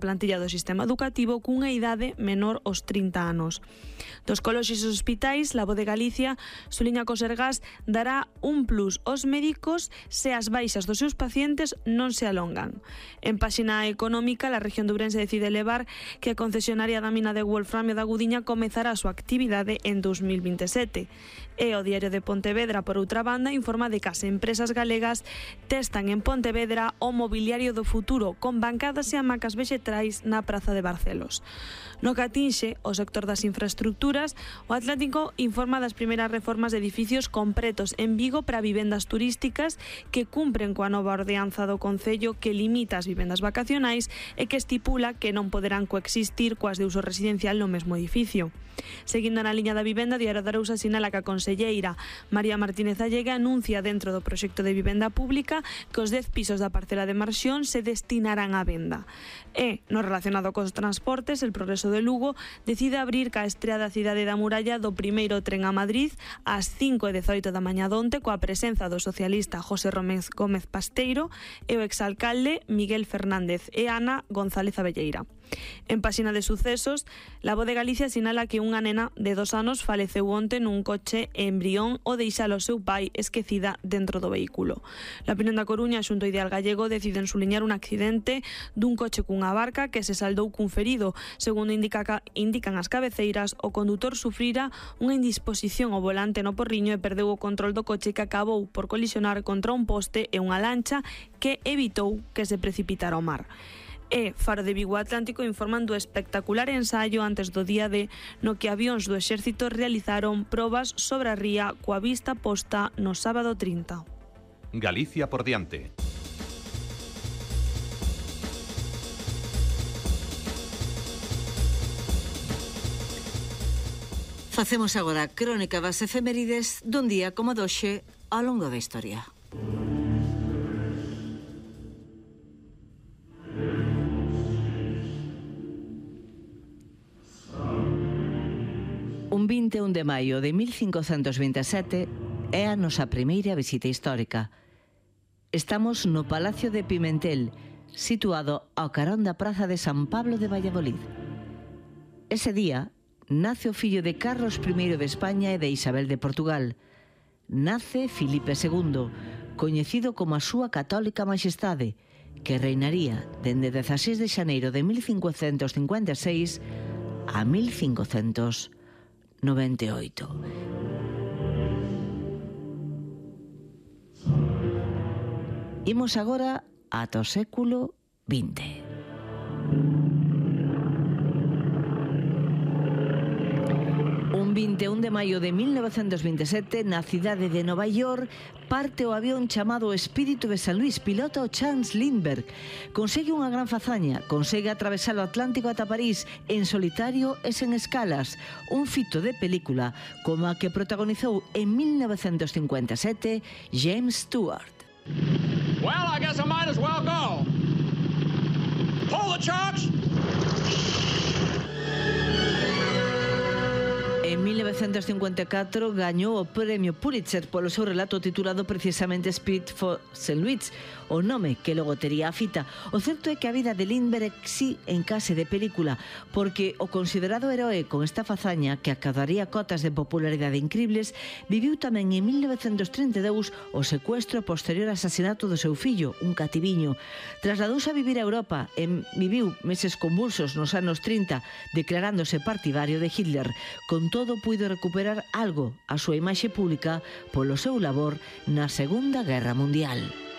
plantilla do sistema educativo cunha idade menor aos 30 anos. Dos colexios e hospitais, La Voz de Galicia suliña que o Sergas dará un plus aos médicos se as baixas dos seus pacientes non se alongan. En páxina económica, a región de Ourense decide levar que a concesionaria da mina de wolframio da Gudiña comezará a súa actividade en 2027. E o Diario de Pontevedra, por outra banda, informa de que as empresas galegas testan en Pontevedra o mobiliario do futuro con bancadas e hamacas vexetrais na Praza de Barcelos. No que atinxe o sector das infraestructuras, o Atlántico informa das primeiras reformas de edificios completos en Vigo para vivendas turísticas que cumpren coa nova ordenanza do Concello que limita as vivendas vacacionais e que estipula que non poderán coexistir coas de uso residencial no mesmo edificio. Seguindo na liña da vivenda, Diario de Arousa sinala que a conselleira María Martínez Allega anuncia dentro do proxecto de vivenda pública que os 10 pisos da parcela de Marxión se destinarán á venda. E, no relacionado cos transportes, El Progreso de Lugo decide abrir ca estrea da cidade da muralla do primeiro tren a Madrid ás 5:18 da mañá donte coa presenza do socialista José Gómez Pasteiro e o exalcalde Miguel Fernández e Ana González Abelleira. En páxina de sucesos, La Voz de Galicia sinala que unha nena de 2 anos faleceu onte nun coche en Brión ao deixar o seu pai esquecida dentro do vehículo. La Opinión da Coruña xunto a Ideal Gallego deciden suliñar un accidente dun coche cunha barca que se saldou cun ferido. Segundo indican as cabeceiras, o condutor sufrira unha indisposición ao volante no Porriño e perdeu o control do coche que acabou por colisionar contra un poste e unha lancha que evitou que se precipitara ao mar. E Faro de Vigo Atlántico informan do espectacular ensaio antes do día D no que avións do exército realizaron probas sobre a ría coa vista posta no sábado 30. Galicia por diante. Facemos agora a crónica das efemérides dun día como doxe ao longo da historia. Un 21 de maio de 1527 é a nosa primeira visita histórica. Estamos no Palacio de Pimentel, situado ao carón da Praza de San Pablo de Valladolid. Ese día nace o fillo de Carlos I de España e de Isabel de Portugal. Nace Filipe II, coñecido como a súa católica majestade, que reinaría dende 16 de xaneiro de 1556 a 1598. Imos agora ata o século XX. Un 21 de maio de 1927, na cidade de Nova York, parte o avión chamado Espírito de San Luis, pilota o Charles Lindbergh. Consegue unha gran fazaña, consegue atravesar o Atlántico ata París en solitario e sen escalas, un fito de película como a que protagonizou en 1957 James Stewart. Well, I guess I might as well go. Pull the chocks! En 1954 gañou o premio Pulitzer polo seu relato titulado precisamente Spirit for St. Louis, o nome que logo tería a fita. O certo é que a vida de Lindbergh sí encase de película, porque o considerado heroe con esta fazaña que acadaría cotas de popularidade incribles viviu tamén en 1932 o secuestro posterior ao asasinato do seu fillo, un cativiño. Trasladouse a vivir a Europa e viviu meses convulsos nos anos 30, declarándose partidario de Hitler. Con todo, puido recuperar algo a súa imaxe pública polo seu labor na Segunda Guerra Mundial.